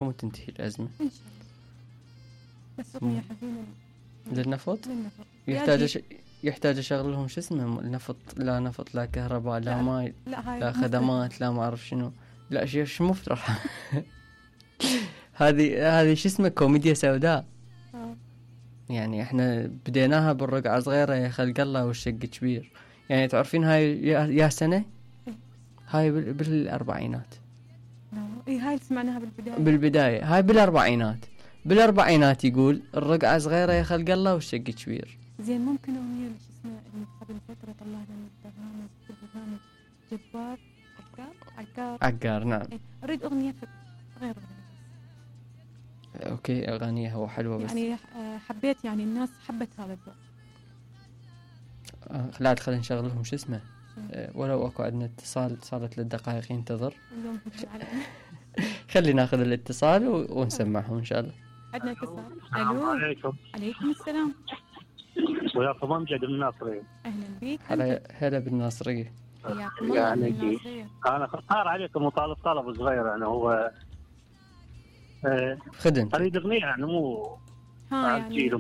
وتنتهي الأزمة إن شاء الله. بس أغنية حزينة للنفط. للنفط يحتاج أشغل لهم شو اسمه النفط، لا نفط لا كهرباء لا ماي لا خدمات لا ما أعرف شنو، لا شو مفترح. هذه شو اسمه كوميديا سوداء. يعني احنا بديناها بالرقعة صغيرة يا خلق الله والشق كبير. يعني تعرفين هاي يا سنة هاي بالأربعينات. هاي سمعناها بالبداية هاي بالأربعينات يقول الرقعة صغيرة يا خلق الله والشق كبير. زين ممكن أغنية شو اسمها اللي قبل فترة طلعنا من البرنامج جبار عقار نعم. أريد أغنية غير أغنية. أوكي أغانيها هو حلوة بس يعني حبيت يعني الناس حبت هذا الذوق. لا خلينا نشغل لهم شو اسمه ولو أكو عندنا اتصال صارت للدقائق ينتظر. خلي ناخذ الاتصال ونسمعه إن شاء الله. عندنا اتصال. ألو. عليكم السلام. وياكم أمجد الناصرية. أهلا بك. هلا بالناصرية. يعني أنا اختار عليكم وطالب طلب صغير يعني هو خدمت. أريد أغنية يعني مو يعني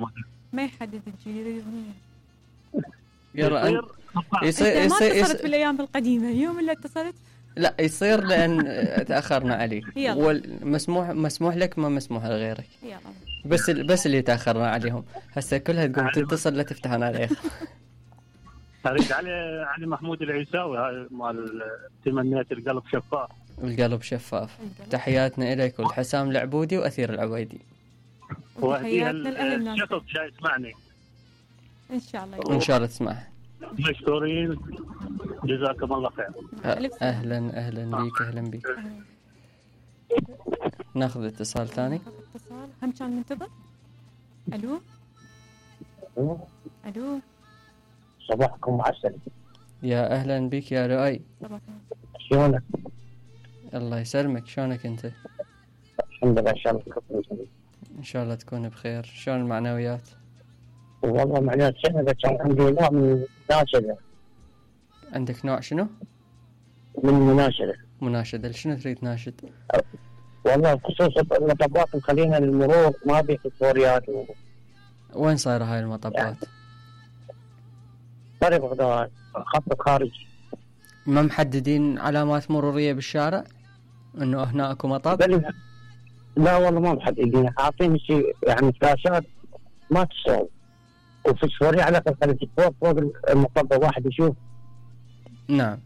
ما يحدد الجيل يريد أغنية. يلا يصير ما اتصلت بالأيام القديمة يوم اللي اتصلت. لا يصير لأن تأخرنا عليك. مسموح لك ما مسموح لغيرك. يلا. بس اللي تأخرنا عليهم هسه كلها تقوم تتصل لا تفتحون عليه. أريد علي محمود العيساوي هاي مال تمنيت القلب شفاف. القلب شفاف. تحياتنا إليك والحسام العبودي وأثير العويدي. وتحياتنا لأهلنا. الشخص جاي يسمعني. إن شاء الله تسمعها. مشكورين جزاكم الله خير. أهلا بيك. ناخذ اتصال ثاني. هم كان منتظر. ألو. صباحكم عسل. يا أهلا بك يا لؤي. شلونك؟ الله يسلمك، شلونك أنت؟ الحمد لله إن شاء الله تكون بخير. شلون المعنويات؟ والله معنويات سنة كان عندي نوع من مناشدة. عندك نوع شنو؟ من مناشدة. شنو تريد ناشد؟ والله بخصوص المطبات مخلينا للمرور ما بي فوريات. وين صايرة هاي المطبات؟ طريق بغداد خط خارجي. ما محددين علامات مرورية بالشارع انه هنا اكو مطب؟ لا والله ما محددين، حاطين شيء يعني فلاشات ما تصوب وفسفورية على الاقل فوق المطب واحد يشوف. نعم.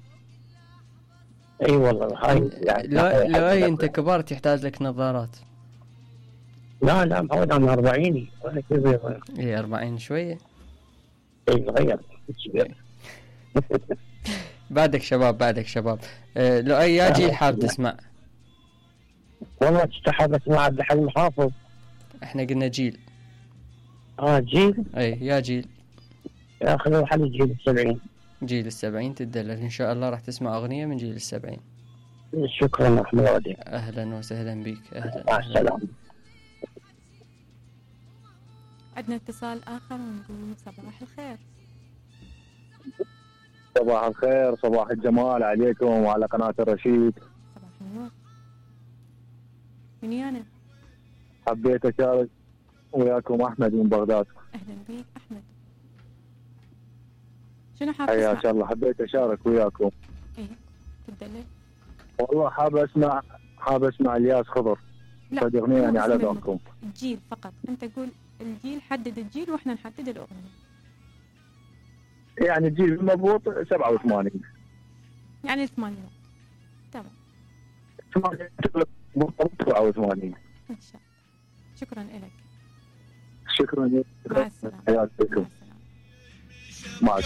اي والله هاي يعني لو انت كبار تحتاج لك نظارات. لا محاول انا 40 اي 40 شوية. اي غير بعدك شباب. لو يا جيل حاب تسمع. والله تستحب اسمع عبد الحليم حافظ. احنا قلنا جيل. جيل. اي يا جيل. يا اخي لو حل جيل ال70 تدلل ان شاء الله راح تسمع اغنية من جيل ال70. شكرا احمد. اهلا وسهلا بك. مع السلامة. عندنا اتصال اخر ونقول صباح الخير. صباح الخير، صباح الجمال عليكم وعلى قناة الرشيد. صباح النور. مني أنا؟ حبيت أشارك وياكم أحمد من بغداد. أهلا بك أحمد. شنو حاب تسمع؟ حياك الله. حبيت أشارك وياكم. إيه تدلل. والله حاب أسمع الياس خضر. لا أغنية يعني على ذوقكم. الجيل فقط، أنت قول الجيل، حدد الجيل وإحنا نحدد الأغنية. يعني الجيل المضبوط 87. يعني 80. تمام. 87. إن شاء الله. شكرا لك. شكرا. مع السلامة. حياتكم. مع